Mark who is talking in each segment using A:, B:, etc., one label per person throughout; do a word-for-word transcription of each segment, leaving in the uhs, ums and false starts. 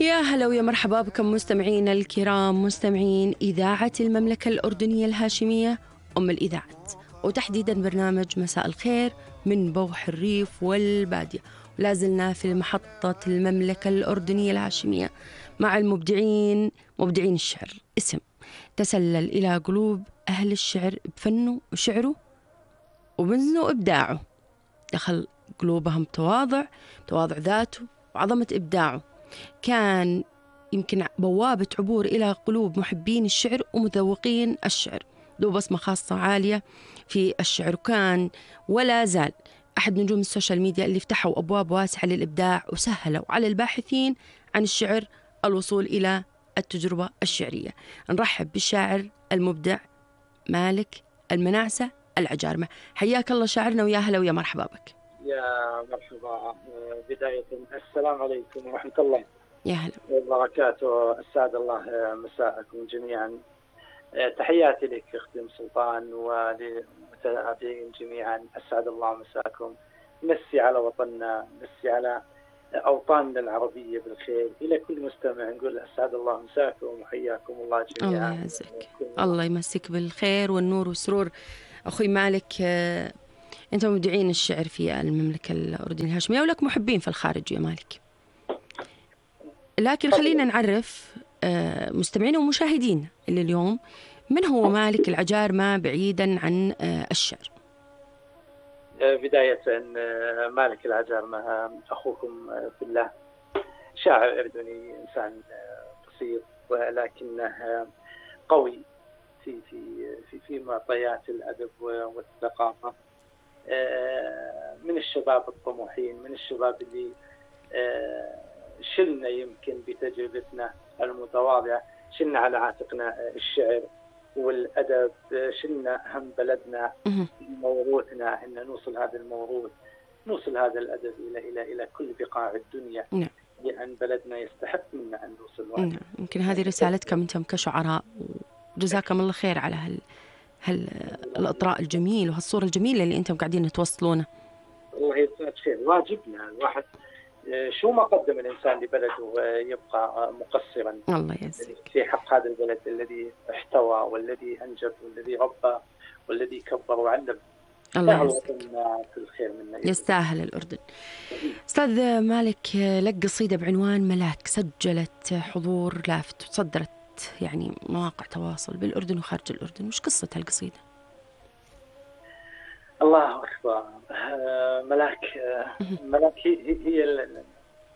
A: يا هلا ويا مرحبا بكم مستمعينا الكرام، مستمعين إذاعة المملكة الأردنية الهاشمية أم الإذاعات، وتحديدا برنامج مساء الخير من بوح الريف والبادية. ولازلنا في محطة المملكة الأردنية الهاشمية مع المبدعين، مبدعين الشعر، اسم تسلل إلى قلوب أهل الشعر بفنه وشعره وبنزنه وإبداعه، دخل قلوبهم تواضع تواضع ذاته وعظمة إبداعه. كان يمكن بوابة عبور إلى قلوب محبين الشعر ومذوقين الشعر، له بصمة خاصة عالية في الشعر، وكان ولا زال أحد نجوم السوشيال ميديا اللي فتحوا أبواب واسعة للإبداع وسهلوا على الباحثين عن الشعر الوصول إلى التجربة الشعرية. نرحب بالشاعر المبدع مالك المناعسة العجارمة. حياك الله شاعرنا، ويا هلا ويا مرحبا بك.
B: يا مرحبا. بداية السلام عليكم ورحمة الله
A: يا هلا
B: وبركاته. أسعد الله مساءكم جميعا. تحياتي لك أختي أم سلطان وللمتابعين جميعا، أسعد الله مساءكم. مسي على وطننا، مسي على أوطاننا العربية بالخير. إلى كل مستمع نقول أسعد الله مساءكم وحياكم الله جميعا.
A: الله يعزك، الله يمسك بالخير والنور والسرور. أخوي مالك، أنت مبدعين الشعر في المملكة الأردنية الهاشمية ولك محبين في الخارج يا مالك، لكن خلينا نعرف مستمعين ومشاهدين اللي اليوم من هو مالك العجارمة بعيدا عن الشعر.
B: بداية مالك العجارمة أخوكم في الله، شاعر أردني، إنسان بسيط ولكنه قوي في في في في معطيات الأدب والثقافة. من الشباب الطموحين، من الشباب اللي شلنا يمكن بتجربتنا المتواضعة، شلنا على عاتقنا الشعر والأدب، شلنا هم بلدنا، موروثنا، إن نوصل هذا الموروث، نوصل هذا الأدب إلى إلى إلى كل بقاع الدنيا.
A: نعم.
B: لأن بلدنا يستحق منا أن نوصل.
A: نعم. يمكن هذه رسالتكم أنتم كشعراء، وجزاكم الله خير على هال هال الإطراء الجميل وهالصورة الجميلة اللي أنتم قاعدين توصلونه.
B: الله يجزاك خير. واجبنا الواحد شو ما قدم الإنسان لبلده يبقى مقصرا
A: الله يجزاك
B: في حق هذا البلد الذي احتوى والذي أنجب والذي ربى والذي كبر وعلم.
A: الله يجزاك،
B: في الخير منا،
A: يستاهل الأردن. أستاذ مالك، لك قصيدة بعنوان ملاك سجلت حضور لافت وتصدرت يعني مواقع تواصل بالأردن وخارج الأردن، وش قصة هالقصيدة؟
B: الله أكبر. ملاك ملاك هي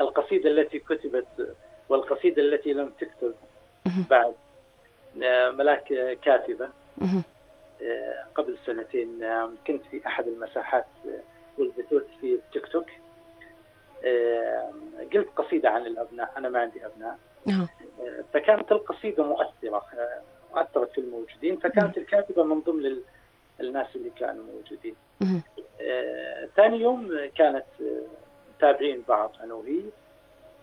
B: القصيدة التي كتبت والقصيدة التي لم تكتب بعد. ملاك كاتبة. قبل سنتين كنت في أحد المساحات والبثوث في التيك توك، قلت قصيدة عن الأبناء. أنا ما عندي أبناء، فكانت القصيدة مؤثرة، أثرت في الموجودين، فكانت الكاتبة من ضمن الناس اللي كانوا موجودين. ثاني يوم كانت تابعين بعض أنا وهي،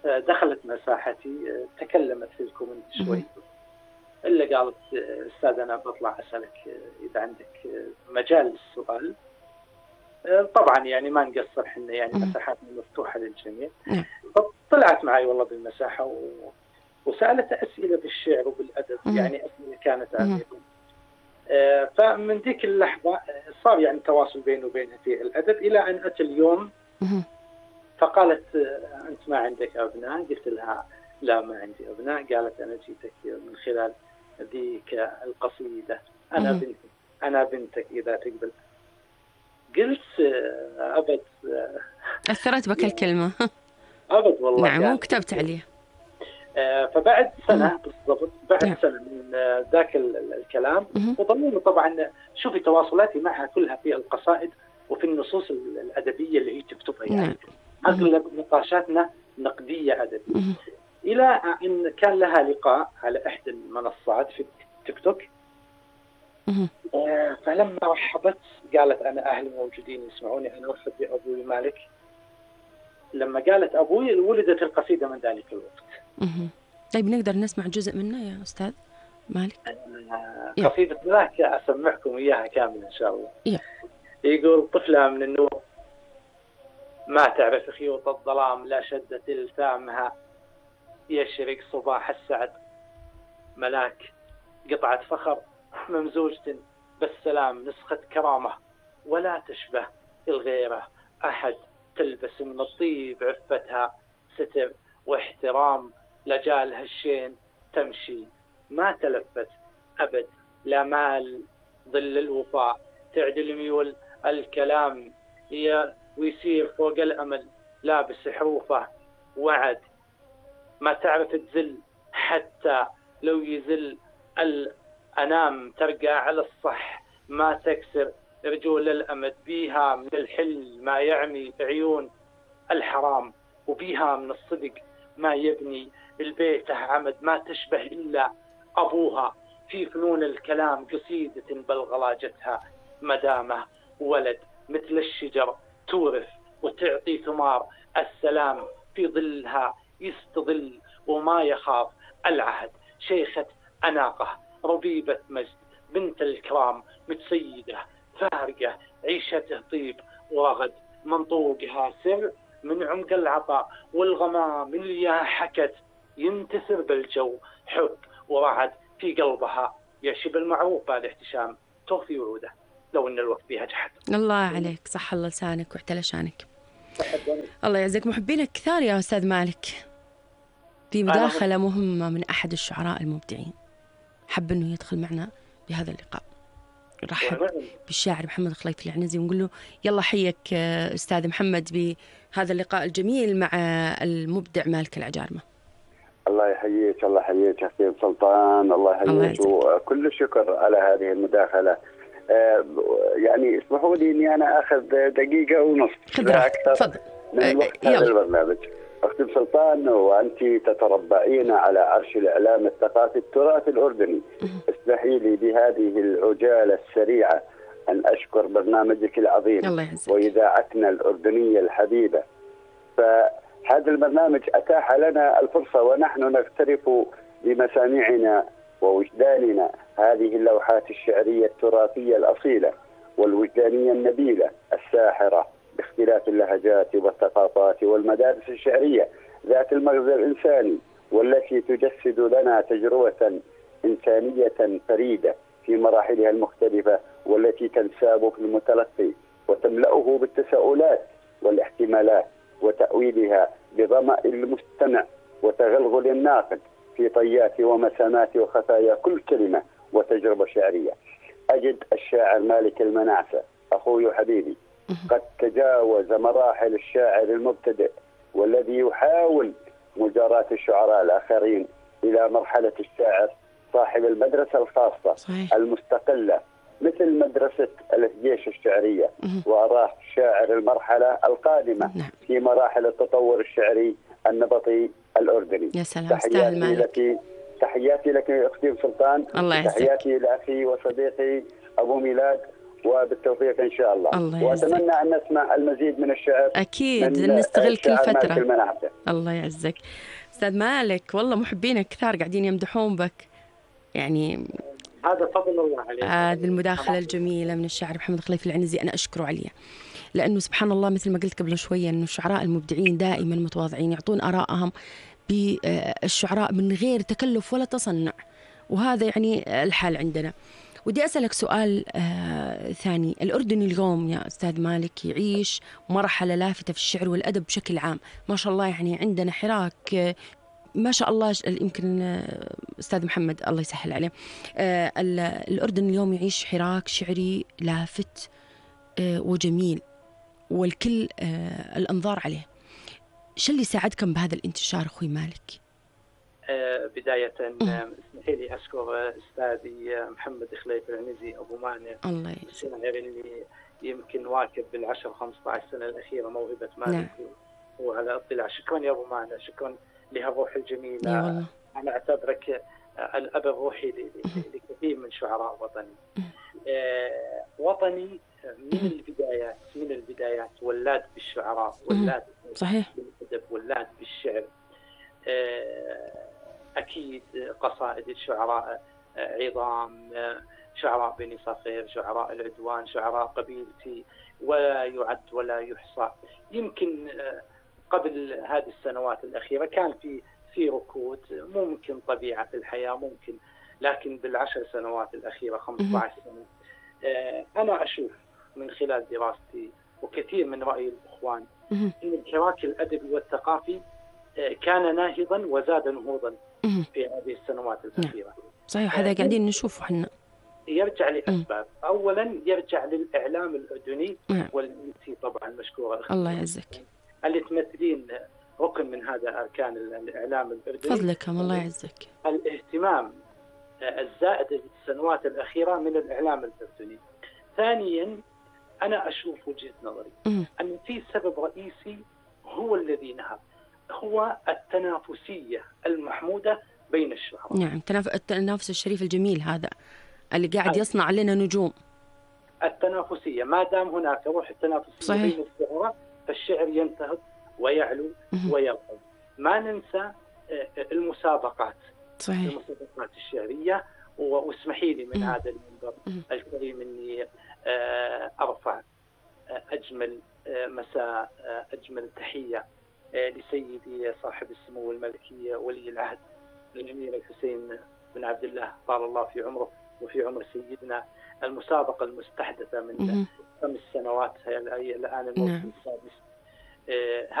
B: دخلت مساحتي، تكلمت في الكومنت شوي، إلا قالت أستاذ أنا بطلع أسألك إذا عندك مجال للسؤال. طبعا يعني ما نقصر، حنا يعني مساحاتنا مفتوحة للجميع. فطلعت معي والله بالمساحة و... وسألت أسئلة بالشعر وبالأدب، يعني أسئلة كانت عميقة. آه فمن ذيك اللحظة صار يعني تواصل بيني وبينها في الأدب، إلى أن أتى اليوم فقالت أنت ما عندك أبناء؟ قلت لها لا ما عندي أبناء. قالت أنا جيتك من خلال ذيك القصيدة، أنا بنتك أنا بنتك إذا تقبل. قلت أبد.
A: أثرت بك الكلمة؟
B: أبد والله.
A: نعم. وكتبت عليه.
B: آه فبعد سنة بالضبط، بعد نعم. سنة من ذاك الكلام، وظلوا طبعا شوفي تواصلاتي معها كلها في القصائد وفي النصوص الأدبية اللي هي تكتبها، يعني نعم. أغلب نقاشاتنا نقدية أدبية. إلى أن كان لها لقاء على إحدى المنصات في تيك توك، آه فلما رحبت قالت أنا أهلي موجودين يسمعوني، أنا أرحب بأبوي مالك. لما قالت أبوي ولدت القصيدة من ذلك الوقت.
A: طيب نقدر نسمع جزء منه يا أستاذ مالك؟
B: آه قصيدة ملاك أسمعكم إياها كاملة إن شاء الله.
A: يا.
B: يقول طفلة من النور ما تعرف خيوط الظلام، لا شدت التامها يشرق صباح السعد. ملاك قطعة فخر ممزوجة بالسلام، نسخة كرامة ولا تشبه الغيرة أحد، تلبس من الطيب عفتها ستر واحترام، لجال هالشين تمشي ما تلفت أبد، لا مال ظل الوفاء تعدل ميول الكلام هي ويصير فوق الأمل لابس حروفه وعد، ما تعرف تزل حتى لو يزل الأنام، ترقى على الصح ما تكسر رجول الأمد، بيها من الحل ما يعمي عيون الحرام، وبيها من الصدق ما يبني البيت عمد، ما تشبه إلا أبوها في فنون الكلام، قصيدة بلغلاجتها مدامة ولد مثل الشجر تورث وتعطي ثمار، السلام في ظلها يستظل وما يخاف العهد، شيخة أناقة ربيبة مجد بنت الكرام، متسيدة فارقة عيشته طيب ورغد، منطوقها سر من عمق العطاء والغمام اللي حكت ينتثر بالجو حب ورعد، في قلبها يشب المعروف بعد احتشام توفي وعوده لو ان الوقت بها جحد.
A: الله عليك، صح الله لسانك واعتلى شانك. الله يعزك. محبينك كثار يا أستاذ مالك. في مداخلة مهمة من أحد الشعراء المبدعين حب أنه يدخل معنا بهذا اللقاء. نرحب بالشاعر محمد خليفة العنزي ونقول له يلا حيك أستاذ محمد بهذا اللقاء الجميل مع المبدع مالك العجارمة.
C: الله يحييك، الله يحييك يا أخي سلطان، الله يحييك، وكل الشكر على هذه المداخلة. آه يعني اسمحوا لي اني انا اخذ دقيقة ونص لا اكثر من وقت هذا البرنامج. اختي سلطان، وانت تتربعين على عرش الاعلام الثقافي التراث الاردني، اسمحي لي بهذه العجالة السريعة ان اشكر برنامجك العظيم واذاعتنا الاردنية الحبيبة. فهذا البرنامج اتاح لنا الفرصة ونحن نغترف بمسامعنا ووجداننا هذه اللوحات الشعرية التراثية الأصيلة والوجدانية النبيلة الساحرة باختلاف اللهجات والثقافات والمدارس الشعرية ذات المغزى الإنساني، والتي تجسد لنا تجربة إنسانية فريدة في مراحلها المختلفة، والتي تنساب في المتلقي وتملأه بالتساؤلات والاحتمالات وتأويلها بظمأ المستمع وتغلغل الناقد في طيات ومسامات وخفايا كل كلمة وتجربة شعرية. أجد الشاعر مالك المناعسة أخوي وحبيبي قد تجاوز مراحل الشاعر المبتدئ والذي يحاول مجاراة الشعراء الآخرين إلى مرحلة الشاعر صاحب المدرسة الخاصة صحيح. المستقلة مثل مدرسة الجيش الشعرية، وأراه شاعر المرحلة القادمة في مراحل التطور الشعري النبطي الأردني.
A: يا سلام،
C: تحياتي لك، تحياتي لك أختي سلطان،
A: الله يعزك.
C: تحياتي لأخي وصديقي أبو ميلاد، وبالتوفيق إن شاء الله, الله وأتمنى أن نسمع المزيد من الشعر
A: أكيد نستغل كل فترة. الله يعزك أستاذ مالك، والله محبينك كثار قاعدين يمدحون بك، يعني
B: هذا فضل الله عليك.
A: هذه المداخلة الجميلة من الشاعر محمد خليفة العنزي أنا أشكره عليها، لأنه سبحان الله مثل ما قلت قبل شوية أنه الشعراء المبدعين دائما متواضعين، يعطون آراءهم بالشعراء من غير تكلف ولا تصنع، وهذا يعني الحال عندنا. ودي أسألك سؤال آه ثاني. الأردن اليوم يا أستاذ مالك يعيش مرحلة لافتة في الشعر والأدب بشكل عام، ما شاء الله، يعني عندنا حراك آه ما شاء الله. يمكن آه أستاذ محمد الله يسهل عليه، آه الأردن اليوم يعيش حراك شعري لافت آه وجميل، والكل آه الأنظار عليه. شو اللي ساعدكم بهذا الانتشار أخوي مالك؟
B: آه بداية اسمحي لي أشكر أستاذي محمد خليفة العنزي أبو مانع، الشاعر اللي يمكن واكب بالعشر خمسة عشر سنة الأخيرة موهبة مالك نعم. وعلى اطلاع. شكرا يا أبو مانع، شكرا لهالروح الجميلة. أنا أعتبرك الأب الروحي لكثير من شعراء وطني. آه وطني من البدايات من البدايات ولاد بالشعراء، ولاد
A: صحيح
B: بالأدب، ولاد بالشعر. أكيد قصائد الشعراء عظام، شعراء بني صخير، شعراء العدوان، شعراء قبيلتي، ولا يعد ولا يحصى. يمكن قبل هذه السنوات الأخيرة كان في في ركود، ممكن طبيعة الحياة ممكن، لكن بالعشر سنوات الأخيرة خمسة عشر سنة أنا أشوف من خلال دراستي وكثير من رأي الإخوان أن الحراك الأدبي والثقافي كان ناهضا وزاد نهوضا في هذه السنوات الأخيرة.
A: صحيح، هذا قاعدين نشوفه احنا.
B: يرجع لأسباب، أولا يرجع للإعلام الأردني والإنسي طبعا مشكورة
A: الله يعزك
B: اللي تمثلين ركن من هذا أركان الإعلام الأردني.
A: فضلكم الله يعزك.
B: الاهتمام الزائد في السنوات الأخيرة من الإعلام الأردني. ثانيا أنا أشوف وجهة نظري م. أن في سبب رئيسي هو الذي نهب، هو التنافسية المحمودة بين الشعراء.
A: نعم، التنافس الشريف الجميل هذا اللي قاعد يصنع لنا نجوم.
B: التنافسية، ما دام هناك روح التنافسية بين الشعراء فالشعر ينتهض ويعلو ويرقى. ما ننسى المسابقات،
A: صحيح.
B: المسابقات الشعرية. واسمحي لي من هذا المنبر الكريم اني ارفع اجمل مساء، اجمل تحية لسيدي صاحب السمو الملكي ولي العهد الامير الحسين بن عبد الله طال الله في عمره وفي عمر سيدنا. المسابقة المستحدثة من خمس سنوات هي الآن الموسم السادس.